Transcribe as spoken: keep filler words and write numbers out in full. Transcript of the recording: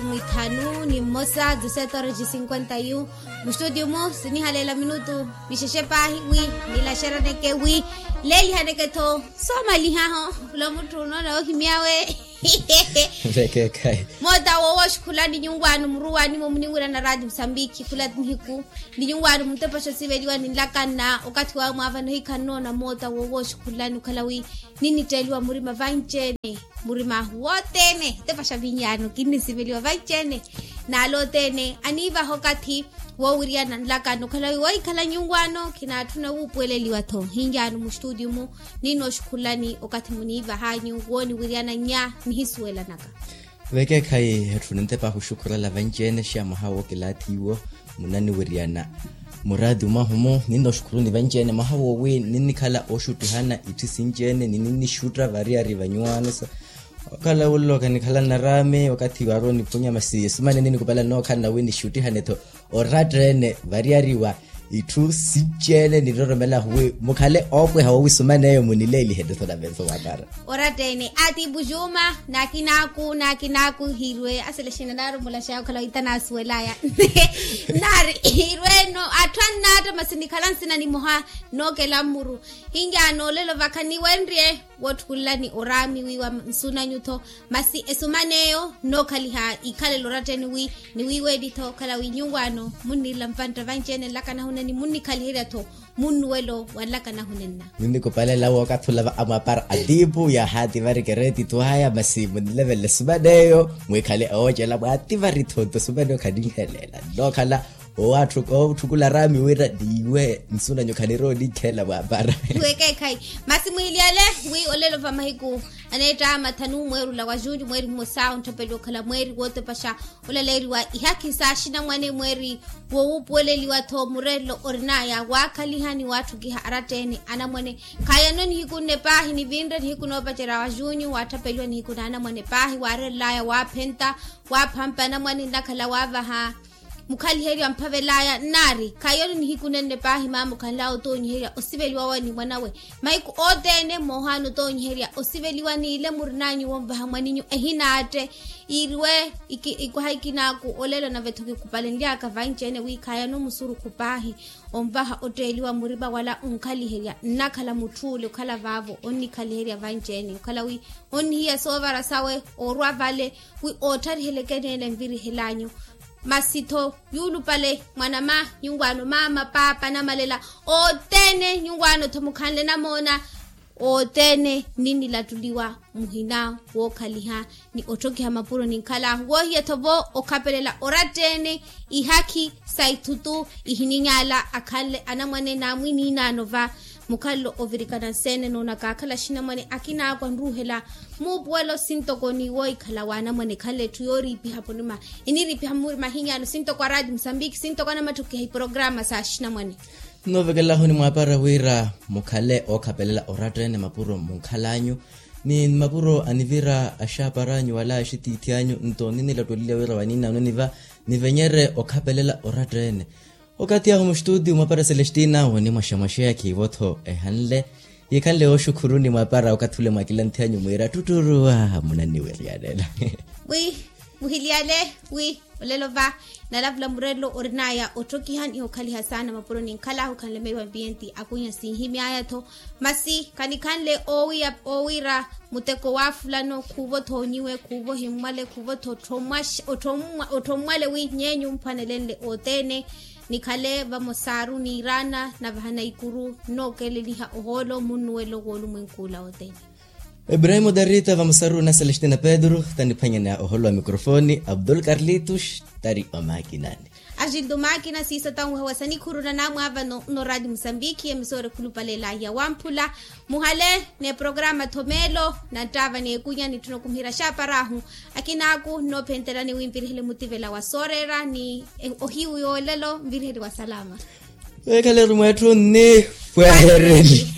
Mwithanu ni mmosa dezesete horas de cinquenta e um. Mustutiyu-mu sinihaleela minutu mixexe paahi wi nilaxeraneke wi leelihaneke-tho soomalihaho. Khula mutthu onoona ohimyawe. Vekeekhayi. Moota woowoxi khula ni nyuwaano muruwaani-mo muninwira na raati musambikhi khula nihiku ni nyuwaano muntepaxa osiveliwa ninlakanna okathi wawe mwaavana ohikha nnoona moota woowoxi khula ni okhala wi ninnitteeliwa murima vanci-ene. Murima ahu wothene tepaxa vinyaano kinnisiveliwa vanci-ene. Naale othene aniivaha okathi woowiriyana nlakano okhala wi wohikhala nyuwaano khinaatthuna wuupuweleliwa-tho hinyaano mustutiyu-mu. Ninooxi khulani okathi muniivahanyu wooniwiriyana nnya nihisuwelanaka. Vekeekhayi etthu nintepa ahu xukhurela vanci-ene xa mwaha wookilaathi iwo munaniwiriyana muraati mwahu-mu ninooxukhuruni vanci-ene mwaha woowi ninnikhala ooxuttihana itthu sinci-ene ni ninnixutta variyari vanyuwaano sa okhala wulo khanikhala naraami okathi waarowa oniphunya masi esumani ninikupala nookhalana wi nixuttihane-tho oratta-ene variyari wa itthu sinci-ene niroromela ahu wi mukhale oopweha woowisumaneyo munileelihe-tho navenso wapara. Oratta-ene atiipu juma nakinaaku nakinaaku hiirwe asele xina naaromola xaya okhala wita naasuwelaya. Naari hiirwe-no atthu annaatta masi nikhala nsina nimoha nookela mmuru. Hinyaano olelo vakha niwenrye wootthukula ni oraami wiiwa nsunanyu-tho masi esuman'eyo nnookhaliha ikhalela oratta-ene wi niwiiweli-tho okhala wi nyuwaano munniirela mpantta vanci-ene nlakanahu nenna ni munnikhaliherya-tho munnuwelo wa nlakanahu nenna. Ninnikupalela wookathula va amwapara atiipu yaahativari keretitu aya masi munilevelela esuman'eyo mwikhale oocela mwaativari-tho nto esuman'eyo khaninhelela nnookhala owaatthukula araami wira niiwe nsunanyu khanirowa oninkhelela mwaapara. Wekeekhayi masi mwiiliyale wi olelo va mahiku aneetta mathanu mweeri ola wa junyu mweeri mmosa ontthapeliwa okhala mweeri wootepaxa olaleeriwa ihakhi s'axinamwane mweeri woowuupuweleliwa-tho murelelo orin'aya waakhaliha ni waatthukiha aratta-ene anamwane. Khaayano nihiku nne paahi nivinre nihiku noopacerya wa junyu waatthapeliwa nihiku n'anamwane paahi waarerel'aya waaphenta waaphampa anamwane nnakhala waavaha mukhaliherya mphavel'aya nnaari khaayano nihiku nenne paahi maama okhanl'aya otoonyiherya osiveliwa wawe ni mwan'awe. Mahiku othene moohaana otoonyiherya osiveliwa n'ile murin'anyu wonvaha mwaninyu ehinaatte iiriwe ikwaha ikinaaku olelo nave-tho kikupalenly'aka vanci-ene wi khaayano musurukhu paahi onvaha otteeliwa murima wala onkhaliherya nnakhala mutth'ule okhala vaavo onnikhaliherya vanci-ene okhala wi onnihiya soovara sawe oorwa vale wi oottharihelekeni ele nvirihel'anyu. Masi-tho yuulupale mwanama nyuwaano maama paapa namalela othene nyuwaano-tho mukhanle namoona othene ninnilattuliwa muhina wookhaliha ni otthokiha mapuro ninkhal'ahu woohiya-tho vo okhapelela oratta-ene ihakhi sa ithutu ihininyaala akhanle anamwane n'amwiniinaano va mukhalelo ovirikana nseene noona kaakhala axinamwane akinaaku anruuhela muupuwelo sintoko ni woohikhala w'anamwane ekhanle etthu yooriipiha murima eniriipiha murima ahinyaano sintoko araati musambiki sintoko anamattukiha iporokarama s'axinamwane. Nnoovekelahu onimwaapara wira mukhale ookhapelela oratta-ene mapuro munkhal'anyu ni mapuro anivira axaapar'anyu wala axitiithiy'anyu nto ninnilattuliya wira waniinaano niva nivenyerye okhapelela oratta-ene. Okathi ahu muxtuutiyu mwapara celestina wonimwaxamwaxeya khiivo-tho ehanle yikhanle yooxukhuruni mwapara okathi ule mwakilanthiyanyu mwiira ttutturu aa munanniwiriyanela. Wi muhiliyale wi olelo va nalavula murelelo orin'aya otthokiha ni okhaliha saana mapuro ninkhal'ahu khanlemeiwa mpiyenti akunya sinhimy'aya-tho. Masi khanikhanle oowira muteko waafulano khuuvo-tho onyiwe khuuvo himmwale khuuvo-tho ottommwale wi nyeenyu mphwanelenle othene. Nikhale vamosaru niiraana navahana ikuru nnookeleliha ohoolo munnuwelo w'olumwenku ula othene. Ebrahimo darita vamosaru na celestina pedro taniphwanyana ohoolo wa mikrofoni abdul karlitus tari omakinani. Axintu makina siiso tanweha wa sanikhuru na namwaavano nno raati musambikhi emisoori khulupalela ya wamphula. Muhale n'eprograma tho meelo na nttaava n'ekunya nitthuna okumiherya xaaparahu akinaaku nnoophentelani wi nvirihele mutivela wa sooreera ni ohiyu yoolelo nvirihele wa salama. Weekhaleru mweetthu nni pwehereni.